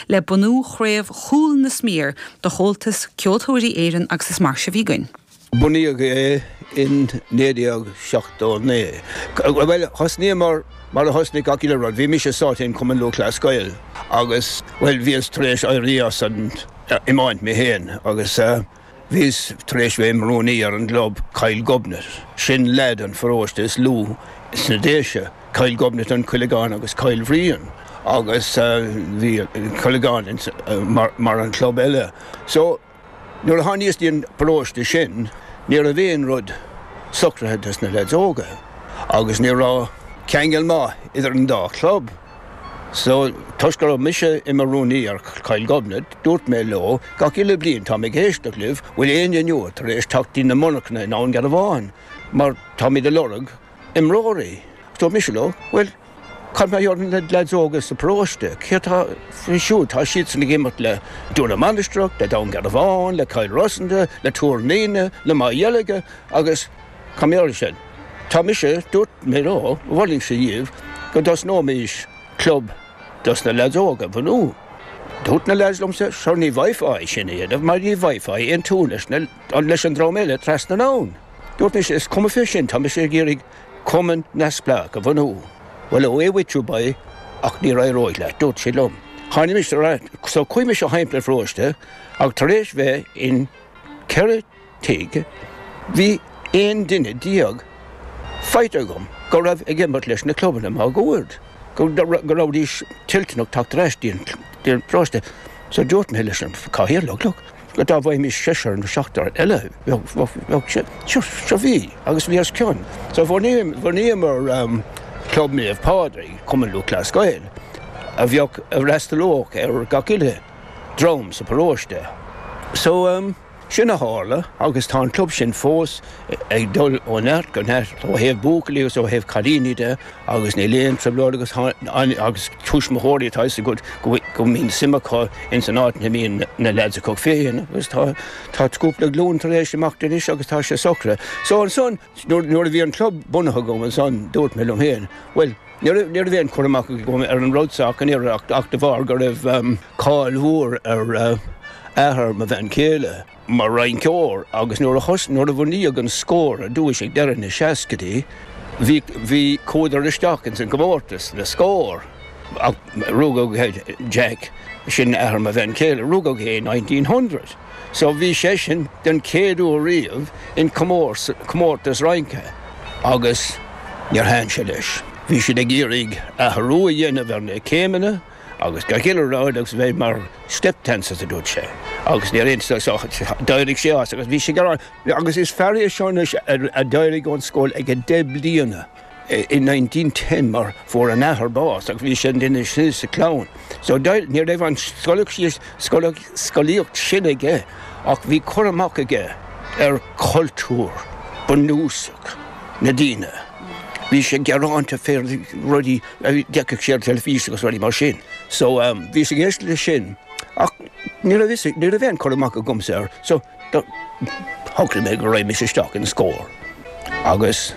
Le bunú Chraobh Chúl na Smior do Chomhaltas Ceoltóirí Éireann agus is mar seo a bhí againn. Bunaíodh é in 1979. Bhuel, thosnaíomar mar a thosnaigh gach uile rud. Bhí mise sáite in Cumann Lúthchleas Gael agus, bhuel, bhíos tar éis éirí as an iomáint mé féin agus Bhíos tar éis bheith im rúnaí ar an gclub Cill Ghobnait. Sin leath den pharóiste is lú sna Déise, Cill Ghobnait, An Cuilceán agus Cill Bhriain agus bhí Cuilceán mar an club eile. So, nuair a tháiníos dtí an paróiste sin, ní raibh aon rud socraithe dos na leaids óga agus ní raibh ceangal maith idir an dá chlub. So, toisc go raibh mise i mo rúnaí ar Chill Ghobnait, dúirt mé leo, gach uile bliain táim ag éisteacht libh, bhfuil éinne nua tar éis teacht dtí na monarchana i nDún Garbhán, mar táimid ag lorg imreoirí. Dúirt mise leo, bhuel, cad mar gheall ar na leaids óga sa bparóiste, céard tá faoi siúd, tá siadsan ag imirt le Dún na Mainistreach, le Dún Garbhán, le Cill Rosanta, le Tuar na Naoine, le Maigh Dheilge, agus. Cá mbearfaidh sin? Tá mise, dúirt mé leo, mholfainnse dhíbh go dtosnóimís club dos na leaids óga a bhunú. Dúirt na leaids liomsa, sure ní bhfaighfeá é sin a dhéanamh mar ní bhfaighfeá aontú leis na, leis an dream eile trasna an abhainn. Dúirt mise, is cuma fé sin, tá mise ag iarraidh cumann neamhspleách a bhunú. Bhuel, away with you boy, ach ní éireoidh leat, dúirt siad liom. Tháinig mise ar ais, so chuaigh mise thimpeall an pharóiste ach tar éis bheith in 4 tigh, bhí 11 duine faighte agam go raibh ag imirt leis na clubanna máguaird, go rabhaidís toilteanach teacht ar ais dtí an paróiste. So dúirt mé leis an cathaoirleach, look, go dá bhfaighimís seisear nó seachtar eile, bheadh sé, sure, sure bhí, agus bhí os cionn. So bhunaíomar Club Naomh Pádraig, Cumann Lúthchleas Gael, a bheadh, a fhreastalódh ar gach uile dream sa bparóiste. So. Sin a tharla agus tá an club sin fós ag dul ó neart go neart ó thaobh buachaillí agus ó thaobh cailíní de agus níl aon trioblóid agus agus tuismitheoirí atá fhios agat go mbíonn suim acu ins an áit ina mbíonn na leaids acu féin agus tá tá cúpla glúin tar éis imeacht anois agus tá sé socraithe. So ansan nuair a bhí an club bunaithe agam ansan dúirt mé liom féin bhuel ní raibh ní raibh aon chur amach agam ar an rud seo ach an oiread ach de bharr go raibh cáil mhór ar athair mo bhean chéile mar rinceoir agus nuair a thos nuair a bunaíodh an Scór ar dtúis ag deireadh na seascaidí bhí bhí chuadar isteach ins an gcomórtas le Scór ach rugadh Jack sin athair mo bhean chéile rugadh é in 1900 so bhí seisean den chéad uair riamh in comórtas rince agus níor thaitin sé leis. Bhí siad ag iarraidh athrú a dhéanamh ar na céimeanna agus gach uile rud agus bheith mar step dancers a dúirt sé agus níor aontaigh so d'éirigh sé as agus bhí sé gearán agus is fear é seo anois a d'éirigh ón scoil ag 10 bliana in 1910 mar fuair an athair bás agus bhí sé an duine sin sa chlann so ní raibh an scolaíocht sin aige ach bhí cur amach aige ar chultúr bunúsach na daoine. Bhí sé gearánta fé rudaí a d'fheicfeadh sé ar teilifís agus rudaí mar sin. So bhíos ag éisteacht leis sin ach ní raibh fhios, ní raibh aon chur amach agamsa air. So shocraigh mé go raghadh mise isteach in Scór agus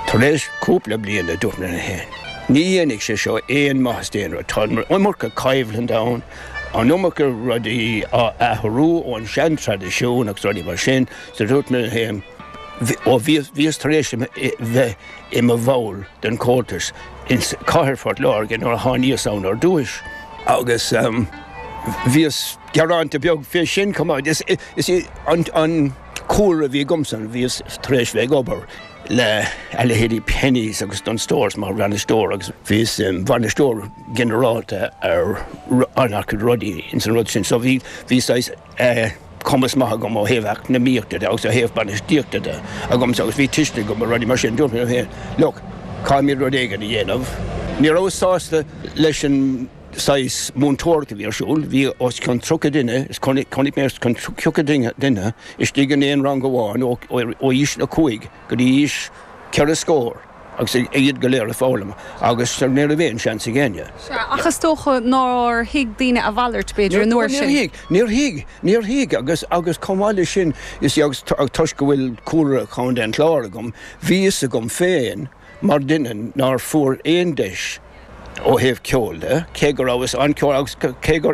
tar éis cúpla bliain a dúirt mé liom féin, ní dhéanfaidh sé seo aon maitheas d'aon rud, tá an iomarca coimhlint ann, an iomarca rudaí á athrú ón sean-traidisiún agus rudaí mar sin. So dúirt mé liom féin, ó bhíos tar éis bheith i mo bhall den Chomhaltas in Cathair Phort Láirge nuair a tháiníos ann ar dtúis agus bhíos gearánta beag fé sin chomh maith. Is é an cúlra a bhí agamsa, bhíos tar éis bheith ag obair le a leithéidí Penneys agus Dunnes Stores mar bhainisteoir agus bhíos im bhainisteoir ginearálta ar an-chuid rudaí ins an rud sin so bhí saghas cumas maith agam ó thaobh eacnamaíochta de agus ó thaobh bainistíochta de agamsa agus bhí tuiscint agam ar rudaí mar sin. Dúirt mé liom féin, look, caithfimid rud éigin a dhéanamh. Ní rabhas sásta leis an saghas múinteoireacht a bhí ar siúl. Bhí os cionn 30 duine, is chonaic mé os cionn 30 duine istigh in aon rang amháin ó aois a 5 go dtí aois ceithre scór. agus iad go léir ag foghlaim agus ní raibh aon seans ag éinne. Sea, ach is dócha nár thuig daoine a mhalairt, b'fhéidir, an uair sin. Níor thuig, níor thuig, níor thuig agus, agus chomh maith leis sin, is agus toisc go bhfuil cúlra Chontae an Chláir agam, bhí fhios agam féin mar duine nár fuair aon deis. ó thaobh ceoil de, cé go rabhas an-ceol agus cé gur.